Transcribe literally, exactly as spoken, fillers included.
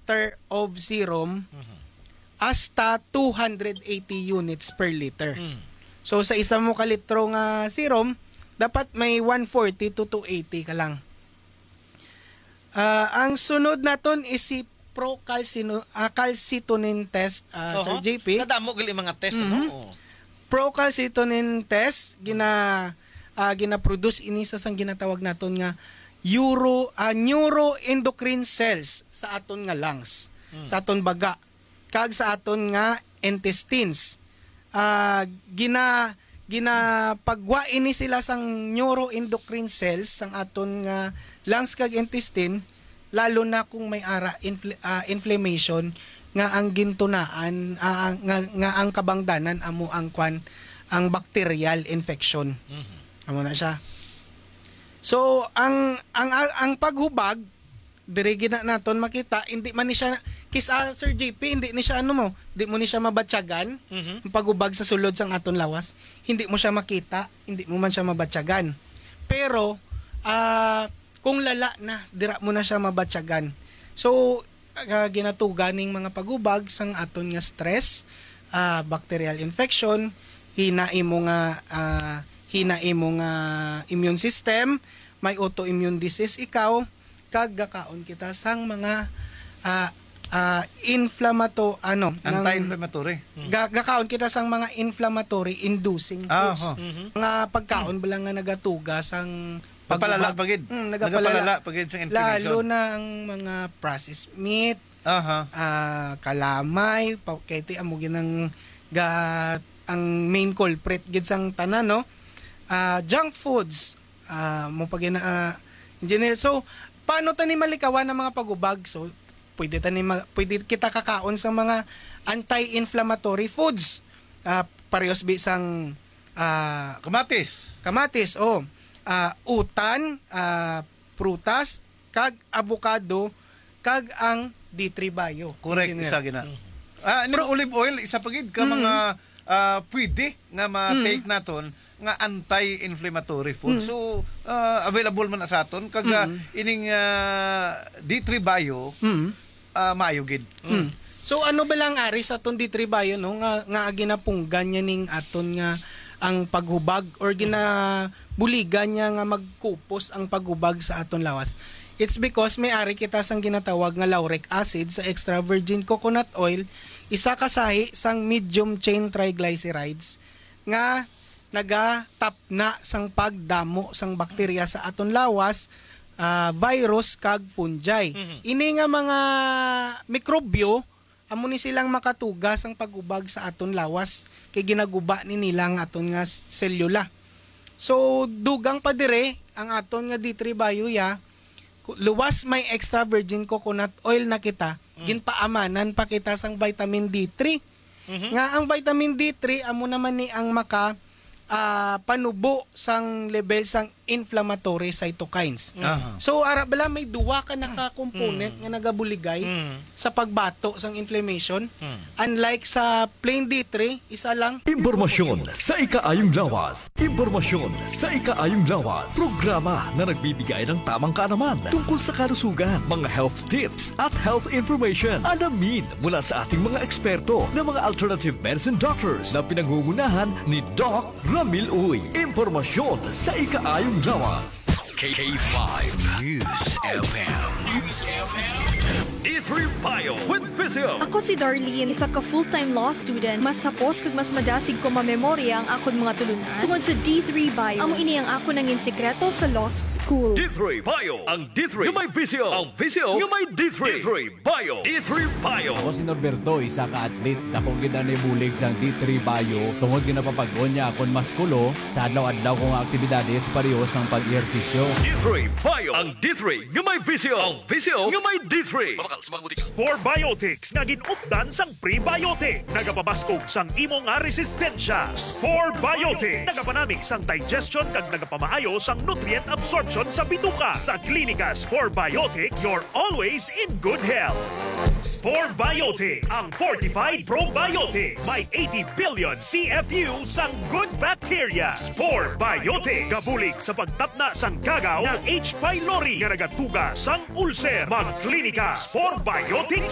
liter of serum, hasta two hundred eighty units per liter. Mm. So, sa isa mo ka litro nga serum, dapat may one forty to two eighty ka lang. Ah, ang sunod naton is si procalcino-, ah, calcitonin test, ah, Sir Oho. J P. Kadamo gali mga test, ano? Mhm. Oo. Procalcitonin test, gina-, ah, gina-produce ini sa sang ginatawag naton nga euro-, ah, neuroendocrine cells sa aton nga lungs, Mm. sa aton baga, kag sa aton nga intestines. Ah, gina-, ginapagwa ini sila sang neuroendocrine cells sang aton nga lungs kag intestine, lalo na kung may ara infl-, ah, inflammation nga ang gintunaan, ah, nga, nga ang kabangdanan amo ang kwan, ang bacterial infection. Mhm. Amo na siya. So, ang, ang, ang paghubag, diri gina naton makita, hindi man ni siya, kis-a, Sir J P, hindi ni siya, ano mo, di mo ni siya mabatyagan, Mhm. ang paghubag sa sulod sang aton lawas, hindi mo siya makita, hindi mo man siya mabatyagan. Pero, ah, kung lala na, dira mo na siya mabatyagan. So, ah, ginatuga ning mga paghubag sang aton nga stress, ah, bacterial infection, hina imo nga, ah, hina imo nga immune system, may autoimmune disease ikaw, kag gakaon kita sang mga, ah, ah, inflamato-, ano, ng Anti-inflammatory. Mm. ga-, gakaon kita sang mga inflammatory inducing Ah, foods. ho. Mhm. Mga pagkaon ba lang nga nagatuga sang Nagpalala paghubag. pa gid. Mm, nagapalala. Nagapalala pa gid sang inflammation. Lalo na ang mga processed meat, Aha. ah, kalamay, pa-, kay ti amo ginang ga-, ang main culprit gid sang tanan, no? Ah, junk foods, ah, mo pa gina-, ah, engineer. So, paano ta ni malikawan ang mga paghubag? So, pwede ta ni ma-, pwede kita kakaon sa mga anti-inflammatory foods. Ah, parehas bi sang, ah, Kamatis. kamatis, oh. Ah, utan, ah, prutas, kag avocado, kag ang D three Bio. Correct, Engineer. isa gina. Mm. Ah, ning Pro- olive oil, isa pa gid ka Mm. mga, ah, pwede nga ma-take Mm. naton nga anti-inflammatory food. Mm. So, ah, available man na sa aton. Kag, ah, Mm. ining, ah, D three Bio, Mm. ah, maayo gid. Mm. So, ano ba lang ari sa aton D three Bio, no, nga, nga ginapunggan niya ning aton nga ang paghubag or ginabuligan niya nga magkupos ang paghubag sa aton lawas? It's because may ari kita sang ginatawag nga lauric acid sa extra virgin coconut oil, isa ka sahi sang medium chain triglycerides nga nagatapna sang pagdamo sang bakterya sa aton lawas, ah, virus kag fungi. Mhm. Ini nga mga mikrobyo, amo ni silang makatuga sang paghubag sa aton lawas, kay ginaguba ni nila ang aton nga s-, selula. So, dugang pa dire ang aton nga D three Bio ya, ku-, luwas may extra virgin coconut oil na kita, Mm. ginpaamanan pa kita sang vitamin D three. Mhm. Nga ang vitamin D three amo naman ni ang maka, ah, panubo sang level sang inflammatory cytokines. Mm. Aha. So, ara bala may duwa ka na ka component Mm. nga nagabuligay Mm. sa pagbato sang inflammation. Mm. Unlike sa plain D three, isa lang. Impormasyon sa ikaayong lawas. Impormasyon sa ikaayong lawas. Programa na nagbibigay ng tamang kaalaman tungkol sa kalusugan, mga health tips at health information. Alamin mula sa ating mga eksperto na mga alternative medicine doctors na pinangungunahan ni Doc Ramil Uy. Impormasyon sa ikaayong lawas. K five News F M. News F M. D three Bio with Physio. Ako si Darlene, isa ka full-time law student. Mas hapos kag mas madasig ko mamemorya ang akon mga tulunan tungod sa D three Bio. Amo ini ang akon nangin sikreto sa law school. D three Bio, ang D three nga may visyo, ang visyo nga may D three. D three Bio. D three Bio. Ako si Norberto, isa ka athlete. Dako gid ang nabulig sang D three Bio tungod ginapapag-on niya akon maskulo sa adlaw-adlaw ko nga aktibidades, pareho sang pag-ehersisyo. D three Bio. Ang D three nga may visyo. Ang visyo nga may D three. Spore Biotics nga gin-updan sang prebiotic. Nagapabaskog sang imo nga resistensya. Spore Biotics. Nagapanami sang digestion kag nagapamaayo sang nutrient absorption sa bituka. Sa Klinika Spore Biotics, you're always in good health. Spore Biotics, ang fortified probiotics. May eighty billion C F U sang good bacteria. Spore Biotics. Gabulig sa pagtapna sang gagaw nga H. pylori nga nagatuga sang ulcer. Mag-Klinika Spore Biotics